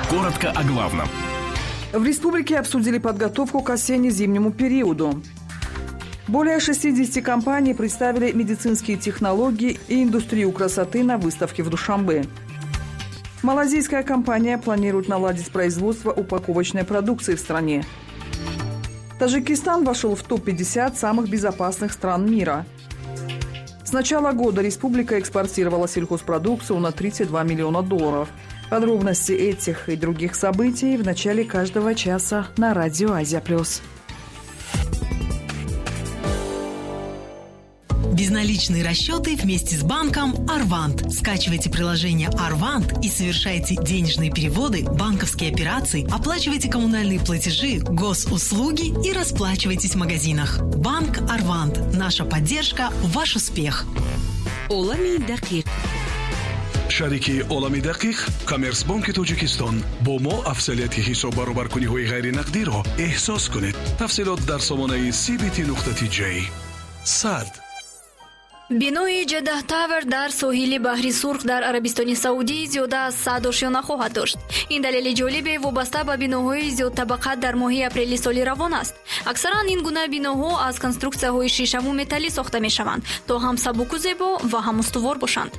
Коротко о главном. В республике обсудили подготовку к осенне-зимнему периоду. Более 60 компаний представили медицинские технологии и индустрию красоты на выставке в Душанбе. Малазийская компания планирует наладить производство упаковочной продукции в стране. Таджикистан вошел в топ-50 самых безопасных стран мира. С начала года республика экспортировала сельхозпродукцию на 32 миллиона долларов. Подробности этих и других событий в начале каждого часа на радио «Азия Плюс». Безналичные расчеты вместе с банком «Арвант». Скачивайте приложение «Арвант» и совершайте денежные переводы, банковские операции, оплачивайте коммунальные платежи, госуслуги и расплачивайтесь в магазинах. Банк «Арвант». Наша поддержка – ваш успех. Олами дақиқ. Шарики Олами дақиқ Коммерсбонки Тоҷикистон. Бо мо афзалияти ҳисоббаробаркуниҳои ғайринақдиро эҳсос кунед. Тафсилот дар сомонаи cbt.tj. Сад. Бинои Ҷеддаҳ Тавер дар соҳили баҳри Сурх дар Арабистони Саудӣ зиёда аз 100 ошёна хоҳад дошт. Ин далели ҷолибе вобаста ба биноҳои зиёдтабақа дар моҳи апрели соли равон аст. Аксаран ин гуна биноҳо аз конструксияҳои шишаву металлӣ сохта мешаванд, то ҳам сабуку зебо ва ҳам устувор бошанд.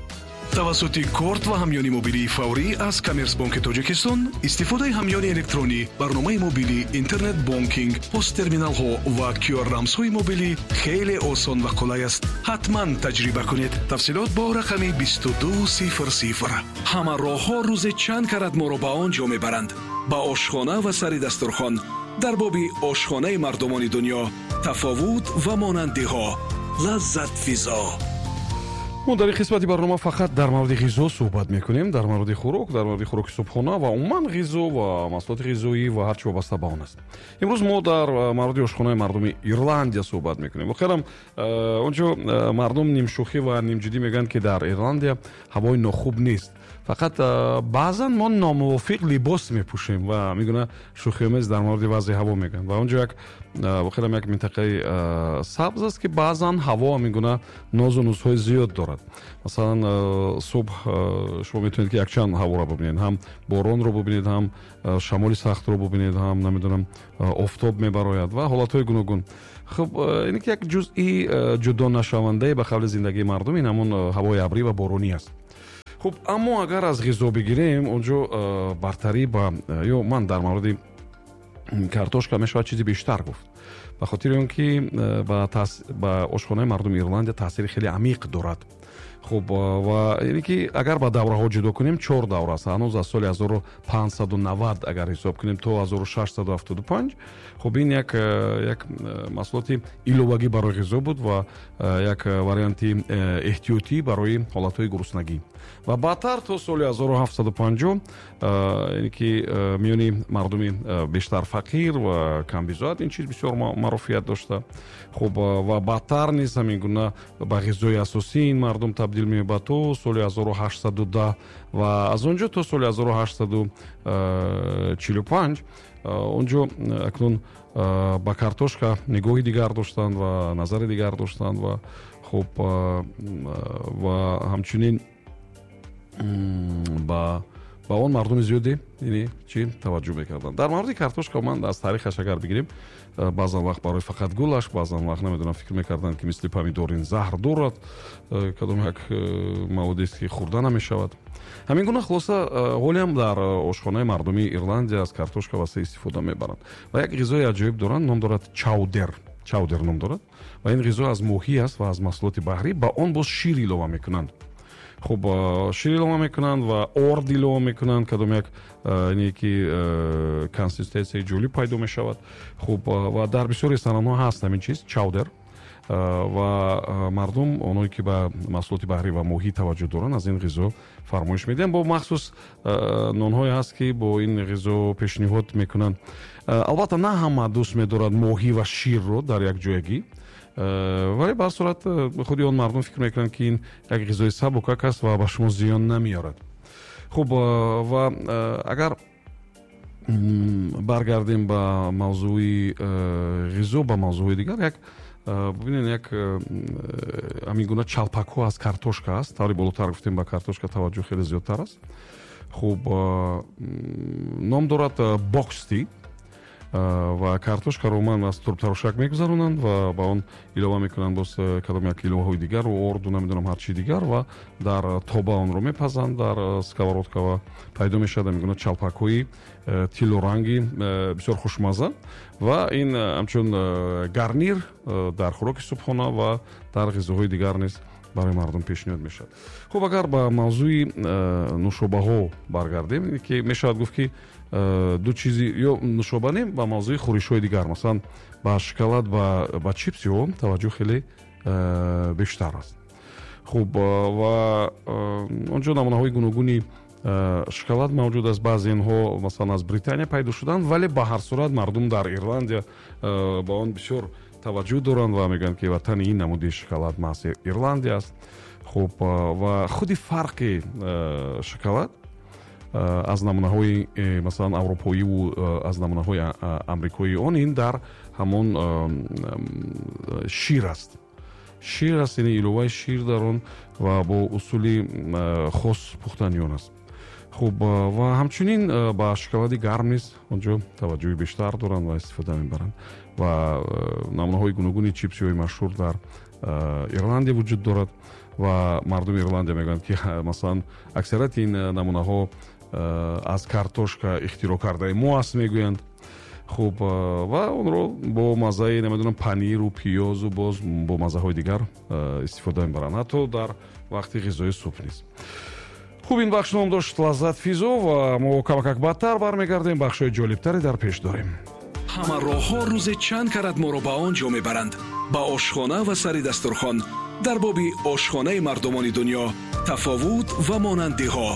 Тавассути корт ва ҳамёни мобилии фаврӣ аз Коммерсбонки Тоҷикистон истифодаи ҳамёни электронӣ, барномаи мобилӣ, интернет-бонкинг, посттерминалҳо ва QR-рамзҳои мобилӣ хеле осон ва қулай аст. Ҳатман таҷриба кунед. Тафсилот бо рақами 2200. Ҳама роҳҳо рӯзе чанд карат моро ба он ҷо мебаранд. Ба ошхона ва сари дастурхон. Дар боби ошхонаи мардумони дунё, тафовут ва монандиҳо. Лаззат физо. Мо дар ин қисмати барнома фақат дар мавриди ғизо суҳбат мекунем, дар мавриди хӯрок, дар мавриди хӯроки субҳона ва умуман ғизо ва маҳсулоти ғизоӣ ва ҳар чи вобаста ба он аст. Имрӯз мо дар мавриди ошхонаи мардуми Ирландия суҳбат мекунем. Воқеан онҷо мардум нимшӯхӣ ва нимҷиддӣ мегӯянд, ки дар Ирландия ҳавои нохуб нест. Фақат баъзан мо номувофиқ либос мепӯшем ва мегӯна шӯхиомез дар мавриди вазъи ҳаво мегӯянд. Ва онҷо як воқеан як минтақаи сабз аст, ки баъзан ҳаво мегӯна нозу нузҳои зиёд дорад. Масалан, субҳ шумо метавонед, ки якчанд ҳаворо бубинед, ҳам боронро бубинед, ҳам шамоли сахтро бубинед, ҳам намедонам офтоб мебарояд ва ҳолатҳои гуногун. Хуб, ин ки як ҷузъи ҷудо нашавандае ба қавли зиндагии мардум ин ҳамон ҳавои абрӣ ва боронӣ аст. Хуб, аммо агар аз ғизо бигирем, онҷо бартарӣ ба ё ман дар мавриди картошка мешавад чизи бештар гуфт. Ба хотири он ки ба ошхонаи мардуми Ирландия таъсири хеле амиқ дорад. Хуб, ва яъне ки агар ба давраҳо ҷудо кунем, 4 давра аст. Ҳанӯз аз соли 1590 агар ҳисоб кунем то 1675, хуб ин як маҳсулоти иловагӣ барои ғизо буд ва як варианти эҳтиётӣ барои ҳолатҳои гуруснагӣ. Ва баъдтар то соли 1750, яъне ки миёни мардуми бештар фақир ва камбизоат ин чиз бисёр маъруфият дошта. Хуб, ва баъдтар низ ҳамин гуна ба ғизои асосӣ ин мардум табдил меёбад то соли 1810 ва аз он ҷо то соли 1845 онҷо акнун ба картошка нигоҳи дигар доштанд ва назари дигар доштанд ва хуб ва ҳамчунин ба он мардуми зиёде яъне чӣ таваҷҷӯҳ мекарданд. Дар мавриди картошка ман аз таърихаш агар бигирем, баъзан вақт барои фақат гулаш, баъзан вақт намедонам фикр мекарданд, ки мисли помидор ин заҳр дорад, кадом як маводест, ки хӯрда намешавад. Ҳамин гуна хулоса ҳолиам дар ошхонаи мардуми Ирландия аз картошка васеъ истифода мебаранд ва як ғизои аҷоиб доранд, ном дорад чаудер. Чаудер ном дорад ва ин ғизо аз моҳӣ аст ва аз маҳсулоти баҳрӣ, ба он боз шир илова мекунанд. Хуб, шир илова мекунанд ва орд илова мекунанд, кадом як ине ки консистенсияи ҷолиб пайдо мешавад. Хуб, ва дар бисёр ресторанҳо ҳаст ҳамин чиз чаудер ва мардум оное ки ба маҳсулоти баҳрӣ ва моҳӣ таваҷҷӯҳ доранд аз ин ғизо фармоиш медиҳанд. Бо махсус нонҳое ҳаст, ки бо ин ғизо пешниҳод мекунанд. Албатта на ҳама дӯст медорад моҳӣ ва ширро дар як ҷоягӣ, вале ба ҳар сурат худи он мардум фикр мекунанд, ки ин як ғизои сабукак аст ва ба шумо зиён намеорад. Хуб, ва агар баргардем ба мавзӯи ғизо, ба мавзӯи дигар, як бубинед, як ҳамин гуна чалпакҳо аз картошка аст. Таври болотар гуфтем, ба картошка таваҷҷӯҳ хеле зиёдтар аст. Хуб, ном дорад боксти ва картошкаро умуман аз турбтарошак мегузаронанд ва ба он илова мекунанд боз кадом як иловаҳои дигар, орду, намедонам, ҳар чизи дигар, ва дар тоба онро мепазанд, дар сковородка, ва пайдо мешавад мегӯянд чалпакҳои тиллоранги бисёр хушмазза. Ва ин ҳамчун гарнир дар хӯроки субҳона ва дар ғизоҳои дигар низ барои мардум пешниҳод мешавад. Хуб, агар ба мавзӯи нӯшобаҳо баргардем, ки мешавад гуфт, ки ду чизи ё нӯшоба не, ба мавзӯи хӯришҳои дигар, масалан, ба шоколад, ба чипсиҳо таваҷҷӯҳ хеле бештар аст. Хуб, ва он ҷо намунаҳои гуногуни шоколад мавҷуд аст. Баъзе инҳо, масалан, аз Британия пайдо шуданд, вале ба ҳар сурат мардум дар Ирландия ба он бисёр таваҷҷӯҳ доранд ва мегӯянд, ки ватани ин намуди шоколад маҳз Ирландия аст. Хуб, ва худи фарқи шоколад аз намунаҳои, масалан, аврупоиву аз намунаҳои амрикоии он ин дар ҳамон шир аст, яъне иловаи шир дар он ва бо усули хос пухтани он аст. Хуб, ва ҳамчунин ба шоколади гарм низ он ҷо таваҷҷӯҳи бештар доранд ва истифода мебаранд. Ва намунаҳои гуногуни чипсиҳои машҳур дар Ирландия вуҷуд дорад ва мардуми Ирландия мегӯянд, ки, масалан, аксарияти ин намунаҳо аз картошка ихтироъ кардаи мо аст, мегӯянд. Хуб, ва онро бо маззаи, намедонам, паниру пиёзу боз бо маззаҳои дигар истифода мебаранд, ҳатто дар вақти ғизои субҳ низ. Хуб, ин бахш ном дошт «Лаззат физо» ва мо камакак баъдтар бармегардем, бахшҳои ҷолибтаре дар пеш дорем. Ҳама роҳҳо рӯзе чанд карат моро ба он ҷо мебаранд, ба ошхона ва сари дастурхон. Дар боби ошхонаи мардумони дунё, тафовут ва монандиҳо.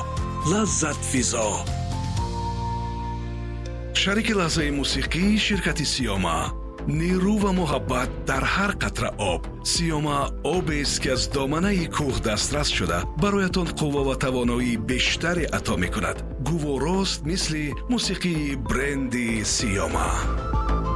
«Лаззат физо». Шарики лаҳзаи мусиқӣ ширкати «Сиёма». Нерӯ ва муҳаббат дар ҳар қатра об. «Сиёма» обест, ки аз доманаи кӯҳ дастрас шуда, бароятон қувва ва тавоноии бештаре ато мекунад. Гуворост, мисли мусиқии бренди «Сиёма».